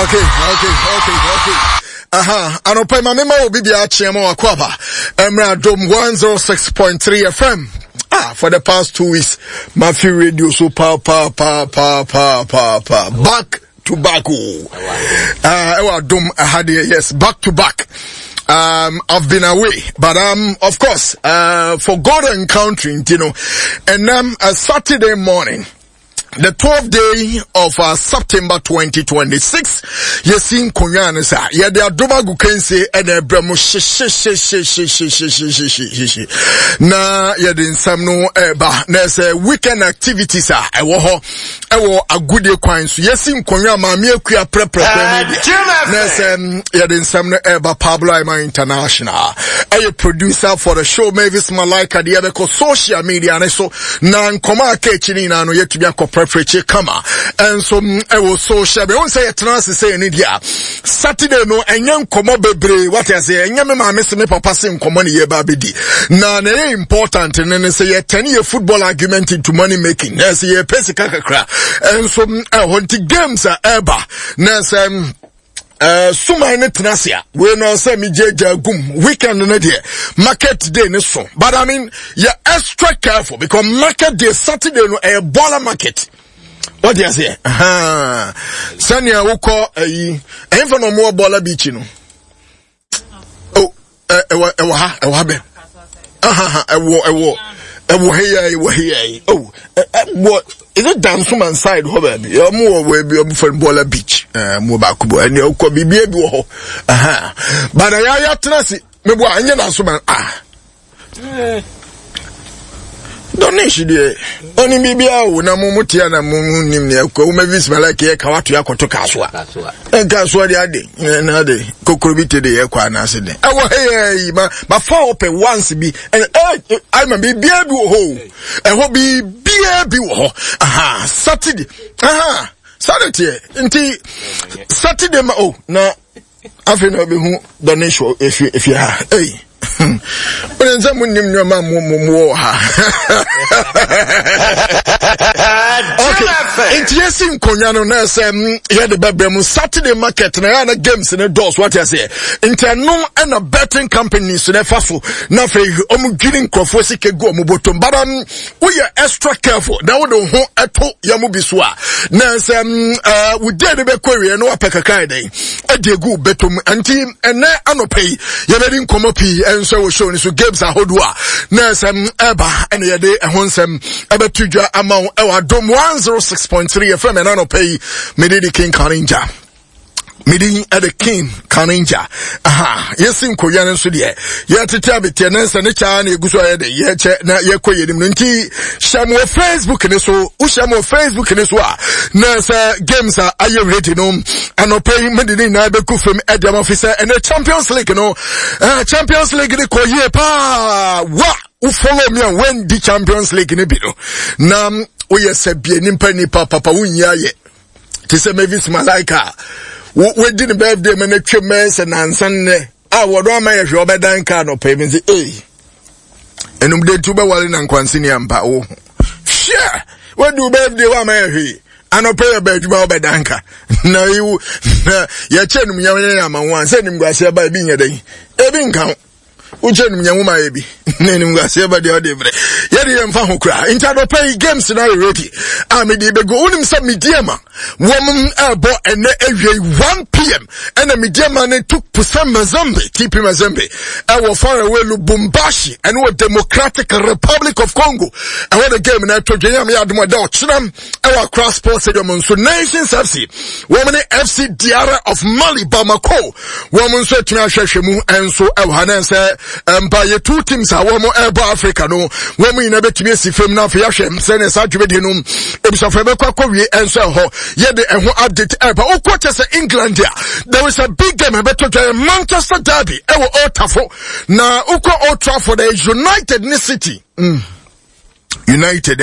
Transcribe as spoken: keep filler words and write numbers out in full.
Okay, okay, okay, okay. Aha, anɔpa ma mema obi bia akyea ma wakɔ aba. Emra Dom one oh six point three F M. Ah, for the past two weeks, Mafi radio so pa pa pa pa pa pa pa back to back. Oh, uh, ɛwɔ Adom aha deɛ, yes, back to back. Um, I've been away, but um, of course, uh, for God and country, you know, and um, a Saturday morning, the twelfth day of uh, September twenty twenty-six, yɛsi nkonnwa no sa yɛde adom agu kansie ɛna ɛbrɛ mu hyehyɛhyɛhyɛhyɛhyɛhyɛhyɛhyɛ na yɛde nsɛm no ɛba na ɛsɛ weekend activities a ɛwɔ hɔ ɛwɔ agodie kwan so. Yɛsi nkonnwa maame akua prɛprɛprɛ no deɛ na ɛsɛ yɛde nsɛm no ɛba. Pablo Aima International ɛyɛ producer for the show. Mavis Malaika deɛ yɛbɛkɔ social media ne so na nkɔmɔ a aka akyi no nyinaa no yɛtumi akɔ prɛprɛkyi kama. Ɛnso ɛwɔ social media wɔn sɛ yɛtena ase sɛ yɛne deɛ a Saturday no ɛnyɛ nkɔmɔ bebree, wate ase? Ɛnyɛ me maame se me papa se nkɔmɔ ne yɛba abɛdi na na ɛyɛ important ne ne sɛ yɛtɛne yɛ football argument into money making na ɛsɛ yɛpɛ sika kakra. Ɛnso ɛhɔ nti games a ɛba na ɛsɛ Uh, suman ne tena ase a wei no sɛ megyagya gum weekend no deɛ market day ne so, but I mean, yɛ extra careful because market day Saturday no ɛyɛ baller market, wɔde aseɛ sɛnea wokɔ ayi ɛyɛmfa na ɔmowɔ baller beach no. Oh, ɛwɔ ɛwɔ ha, ɛwɔ ha bɛ ɛwɔ ɛwɔ ɛwɔ ha yi, ɛwɔ ha yi. Oh, ɛwɔ, is it Dansoman side hɔ baabi? Ɔmo wɔ baabi ɔmo fɛ Bɔɔla Beach. Ɛɛ mo baako bɔ ɛnna ɔkɔ biribi bi wɔ hɔ, bana yɛ ayɛ atena ase mebo a ɛnyɛ Dansoman. Ah, Donish deɛ ɔne biribiara wo na mo mo tia na mo mo nim nea ɛkɔ wo Mavis Malaki yɛ ka wato akɔto kasoa nkasoa de ade na ade kokoro bi te de yɛ kɔ anaase de ɛwɔ ha yɛ yi ma ma fa ɔpɛ once bi ɛɛ ɛ ayi ma biribiara bi wɔ hɔ o, ɛhɔ biribiara bi wɔ hɔ. Aha, Saturday, aha, Saturday teɛ nti Saturday ma o na afei na ɔbɛhu Donish wɔ efi efi ha. Ɛyi wọ́n sɛ mo nim nneɛma mo mo mo wɔ ha. Okay, nti yɛsi nkonnwa no na ɛsɛ yɛde bɛbrɛ mu Saturday market na yɛa na games ne dɔɔso, wate aseɛ? Nti ɛno ɛna betting companies na ɛfa so na afei ɔmo dwiri nkurɔfoɔ sika gu ɔmo bɔtɔm, but um, woyɛ extra careful na wode wo ho ɛto yɛn mo bi so a na sɛ ɛɛ wodie no bɛkɔ awie na wapɛ kakra yɛ dɛn ɛde egu bɛtɔm. Nti ɛnɛ anɔpɛ yi yɛbɛdi nkɔmɔ pii ɛnso wɔ show no so, games ahodoɔ a na ɛsɛm ɛba ɛna yɛde ɛho nsɛm ɛbɛto dwa ama wo ɛwɔ Adom one oh six point three F M. Ɛna anɔpɛ yi mede di King Kaninja, mede ɛde King Kaninja. Aha, yɛsi nkonnwa no nso deɛ yɛtete abeteɛ ne nsɛ ne kyaa na egu so a yɛde yɛkyɛ na yɛkɔ yɛn nim no. Nti hyɛ mo wɔ Facebook ne so, wohyɛ mo wɔ Facebook ne so a na sɛ games a ayɛ ready no anɔpɛ yi mede ne nyinaa bɛgu fam ɛde ama fi sɛ ɛnɛ Champions League no, uh, Champions League ne kɔ yie paa. Wa wo follow me a wendi Champions League ne bi no na woyɛ sɛ bie nipa nipa papa wonyi ayɛ te sɛ Mavis Malaika wadi ne birthday ma no atwam mɛyɛ sɛ nansa nnɛ a wɔdɔ ama yɛ hwɛ ɔbɛdan kaa no pɛ mi sɛ ei ɛnum de nti wobɛwale na nkwanse ni ampa wo hwɛ wadi wo birthday wo ama yɛ hwee anɔpɛ yɛ bɛ adwuma wobɛdan ka na yiwu na yɛkyɛ num nyam yɛ ama wo a sɛ nimguaseɛ ba ebi nyɛ dɛn ebi nka ho wokyɛ num nyam ma yɛ bi na nimguaseɛ ba deɛ ɔde brɛ yɛde yɛn fa ho koraa. Nti anɔpɛ yi games na ayɛ ready a mede bɛgu. Wonim sɛ Medeama wɔn ɛbɔ ɛnɛ awie one p m ɛna Medeama ne Tout Puissant Mazembe, T P Mazembe, ɛwɔ faraway Lubumbashi, ɛne wɔ Democratic Republic of Congo ɛwɔ the game na ɛtɔ dwa. Yam yɛ adom ɛda ɔkyerɛm ɛwɔ Accra Sports Stadium nso Nations F C wɔn ne F C Diarra of Mali, Bamako, wɔn nso atumi ahwɛhwɛ mu ɛnso ɛwɔ ha. Na sɛ mpa yɛ two teams a wɔn ɛrebɔ Africa no wɔn nyinaa bɛtumi asi fam na afei ahwɛ sɛnea saa dwumadie no ebusafo ɛbɛkɔ akɔwie. Ɛnso ɛhɔ yɛde ɛho update ɛba. Wokɔ kyɛ sɛ England a there is a big game ɛbɛtɔ dwa yɛ Manchester derby ɛwɔ Old Trafford, na wokɔ Old Trafford ɛyɛ United ne City mm. United.